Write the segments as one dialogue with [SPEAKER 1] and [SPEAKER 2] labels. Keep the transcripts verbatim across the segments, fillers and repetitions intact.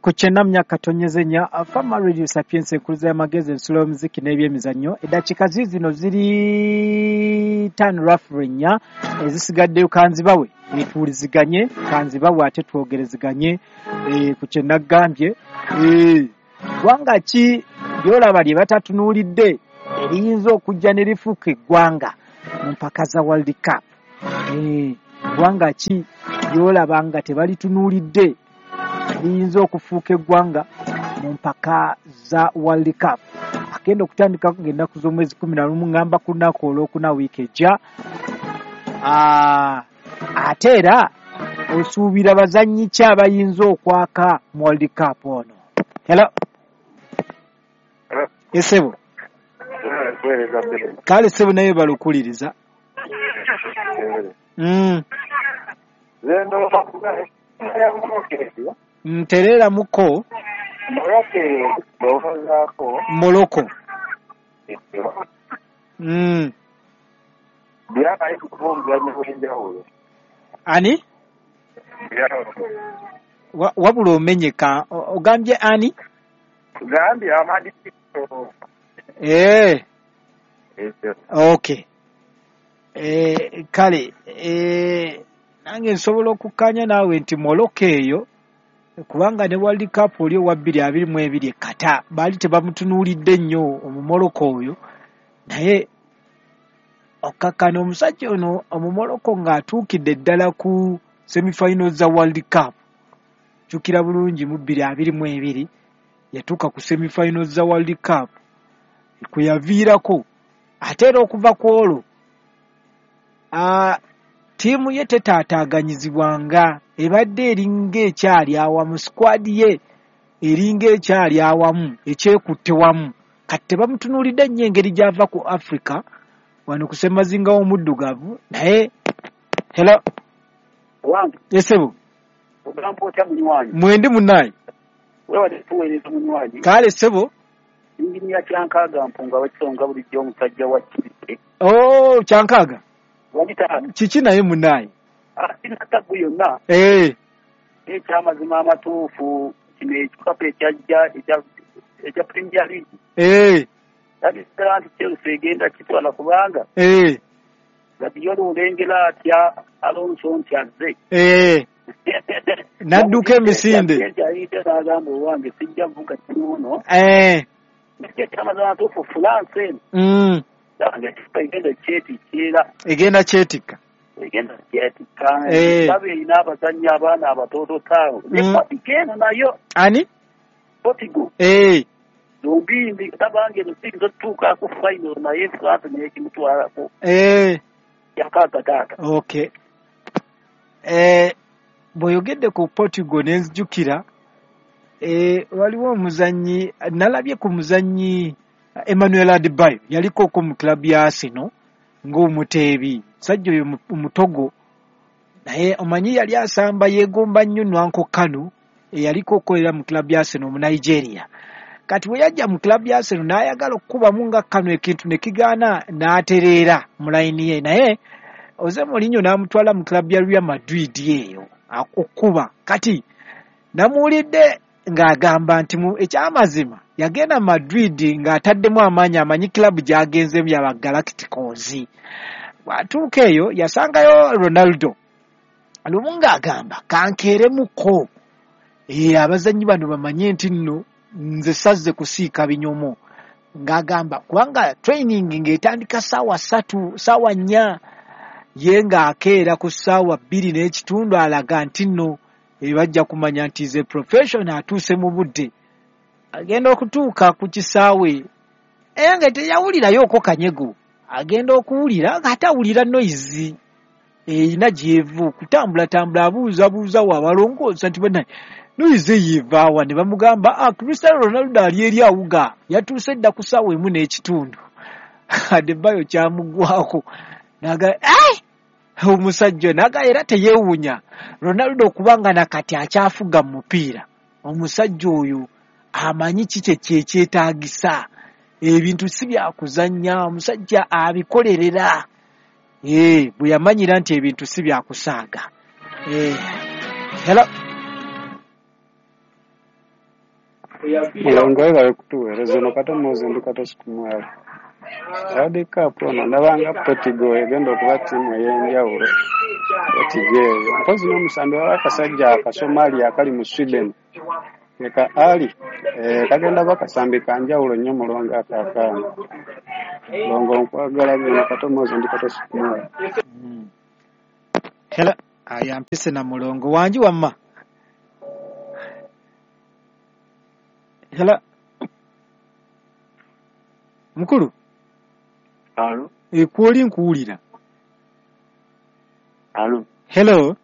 [SPEAKER 1] Ku kyenda mu myaka tonyeze nnya Fama Radio Sapiens, enkuliza y'amagezi, ensulo y'omuziki n'ebyemizannyo. Eddakiika ziizino ziri ttaano roughly nnya ezisigaddeyo, kanzibawe tuwuliziganye, kanzibawe ate twogerezeganye eh, ku kye naggambye. Eh, ggwanga ki ly'olaba lye batatunuulidde eriyinza okujja ne lifuuka eggwanga mu mpaka za World Cup? Eh, ggwanga ki ly'olaba nga tebalitunuulidde liyinza okufuuka eggwanga mu mpaka za World Cup agenda okutandika ng'ennaku z'omwezi kumi na lumu, ngamba ku lunaku olwokuna wiiki ejja? Ah, ate era osuubira bazannyi ki abayinza okwaka mu World Cup ono? Hello, esebo. Kale sebo, naye balukuliriza mm. Ntereeramuko Morocco mm. Ani? Wa- wabula omenyeka. O- ogambye ani?
[SPEAKER 2] Gambye Amadi.
[SPEAKER 1] Eh, okay. Eh, kale eh, nange nsobola okukkaanya naawe nti Morocco eyo, kubanga ne World Cup oli owa bbiri abiri mu ebiri e Qatar baali tebamutunuulidde nnyo Omumorocco oyo, naye okkakkana omusajja ono Omumorocco ng'atuukidde ddala ku semifinals za World Cup. Jjukira bulungi, mu bbiri abiri mu ebiri yatuuka ku semifinals za World Cup kwe yaviirako. Ate era okuva ku olwo aa, ttiimu ye tetaataaganyizibwanga, ebadde eringa ekyali awamu, squad ye eringa ekyali awamu, ekyekutte wamu. Kati tebamutunuulidde nnyo engeri gy'ava ku Africa wano ku ssemazinga w'omuddugavu. Naye hello.
[SPEAKER 2] Wange.
[SPEAKER 1] Esebo.
[SPEAKER 2] Ogamba otya, munywanyi?
[SPEAKER 1] Mwendi, munnaye.
[SPEAKER 2] Wewale tuweereza, munywanyi.
[SPEAKER 1] Kale ssebo.
[SPEAKER 2] Inginiya Kyankaaga Mpunga wekisonga, bulijjo omusajja wa Kibite.
[SPEAKER 1] Oh, Kyankaaga.
[SPEAKER 2] Wagitaano.
[SPEAKER 1] Kiki naye, munnaye?
[SPEAKER 2] Sina taggu yonna.
[SPEAKER 1] Eh,
[SPEAKER 2] ekyamazima amatuufu, kino ekikapa ekyajja ekya- ekya Premier League,
[SPEAKER 1] eh,
[SPEAKER 2] labisira nti Chelsea egenda kitwala, kubanga
[SPEAKER 1] eh,
[SPEAKER 2] Guardiola olengera atya Alonso nti azze.
[SPEAKER 1] eh. N'adduka emisinde.
[SPEAKER 2] Nti ayite n'agamba, "Owange sijja vuga kimuno."
[SPEAKER 1] Eh,
[SPEAKER 2] Ekyo ekyamazima amatuufu, France eno
[SPEAKER 1] mm,
[SPEAKER 2] yange ekipa egenda kyetikira.
[SPEAKER 1] Egenda kyetikka.
[SPEAKER 2] Egenda kyetikka.
[SPEAKER 1] Eh.
[SPEAKER 2] Baba erina abazannyi abaana abatoototaabo ne
[SPEAKER 1] Mm.
[SPEAKER 2] Portugal eno nayo.
[SPEAKER 1] Ani?
[SPEAKER 2] Portugal.
[SPEAKER 1] Eh,
[SPEAKER 2] Zombi tabange eno siyinza otutuukako final, naye France naye kimutwalako.
[SPEAKER 1] eh.
[SPEAKER 2] Yakaaga taata.
[SPEAKER 1] Okay. Eh, bw'oyogedde ku Portugal ne nzijukira eh, waliwo omuzannyi nalabye ku muzannyi Emmanuel Adebayo, yaliko mu club ya Arsenal ng'omuteebi, musajja oyo mu- Omutogo, naye omanyi yali asamba yeegomba nnyo Nwankwo Kanu eyaliko okukolera mu club ya Arsenal mu Nigeria. Kati bwe yajja mu club ya Arsenal n'ayagala okukubamu nga Kanu, ekintu ne kigaana, n'atereera mu layini ye, naye Jose Mourinho n'amutwala mu club ya Real Madrid eyo okukuba. Kati namuwulidde ng'agamba nti mu ekyamazima yagenda Madrid ng'ataddemu amaanyi, amanyi club gy'agenzemu yaba Galacticos. Bw'atuuka eyo yasangayo Ronaldo lumu ng'agamba, "Kankeeremuko, ee, abazannyi bano bamanye nti nno nze sazze kusiika binyomo." Ng'agamba kubanga training ng'etandika ssaawa ssatu, ssaawa nnya, ye ng'akeera ku ssaawa bbiri n'ekitundu, alaga nti nno eh, bajja kumanya nti ze professional, atuuse mu budde. Agenda okutuuka ku kisaawe era nga teyawulirayoko kanyego, agenda okuwulira ng'ate awulira noise erina gyevu kutambulatambula, abuuzabuuza wa abalongoosa nti, "Bannaye, noise eyo evaawa?" Ne bamugamba, "Ah, Cristiano Ronaldo ali eri awuga, yatuuse dda ku ssaawa emu n'ekitundu." Adebayo kyamugwako naga, "Ai, omusajja!" Naga era teyeewuunya Ronaldo okubanga nakati akyafuga mu mupiira. Omusajja oyo amanyi ki kye kyekyetaagisa, ebintu si byakuzannya, omusajja abikolerera. Ee, bwe yamanyira nti ebintu si byakusaaga. Ee, hello.
[SPEAKER 3] Mulongo webale kutuweereza. Ono Kato Moses ndi Kato Sikumwalo. World Cup ono ndabanga Portugal egenda okuba ttiimu ey'enjawulo Portugal eyo. Mpozi n'omusambi waliwo akasajja Akasomalia akali mu Sweden eka Ali eh, kagenda ba kasambi ka njawulo nnyo Mulongo ako akaana. Mulongo nkwagala nnyo. Kato Moses ndi Kato Sikumwalo.
[SPEAKER 1] Mm. Hello, aya mpise na Mulongo wangi wamma. Hello, mukulu.
[SPEAKER 4] Alo,
[SPEAKER 1] Ekwoli nkuwulira.
[SPEAKER 4] Alo.
[SPEAKER 1] Hello.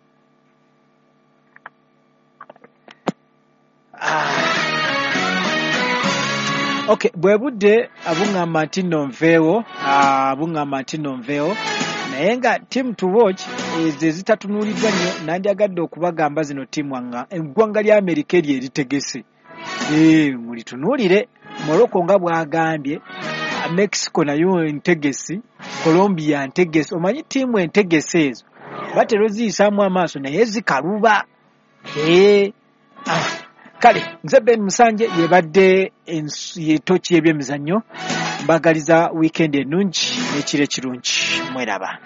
[SPEAKER 1] Ah. Okay, bwe budde buŋŋamba nti nno nveewo, ah, buŋŋamba nti nno nveewo, naye nga team to watch ezo ezitatunuuliddwa nnyo nandyagadde okubagamba zino ttiimu nga eggwanga lya Amerika eryo eritegese. Eh, mulitunuulire Morocco nga bw'agambye, ah, Mexico nayo ntegesi, Colombia ntegesi. Omanyi ttiimu entegesi ezo batera oziyisaamu amaaso naye zikaluba. Eh, ah, kale nze Ben Musanje yebadde ens- ye toki y'ebyemizannyo, mbagaliza weekend ennungi n'ekiro ekirungi, mweraba.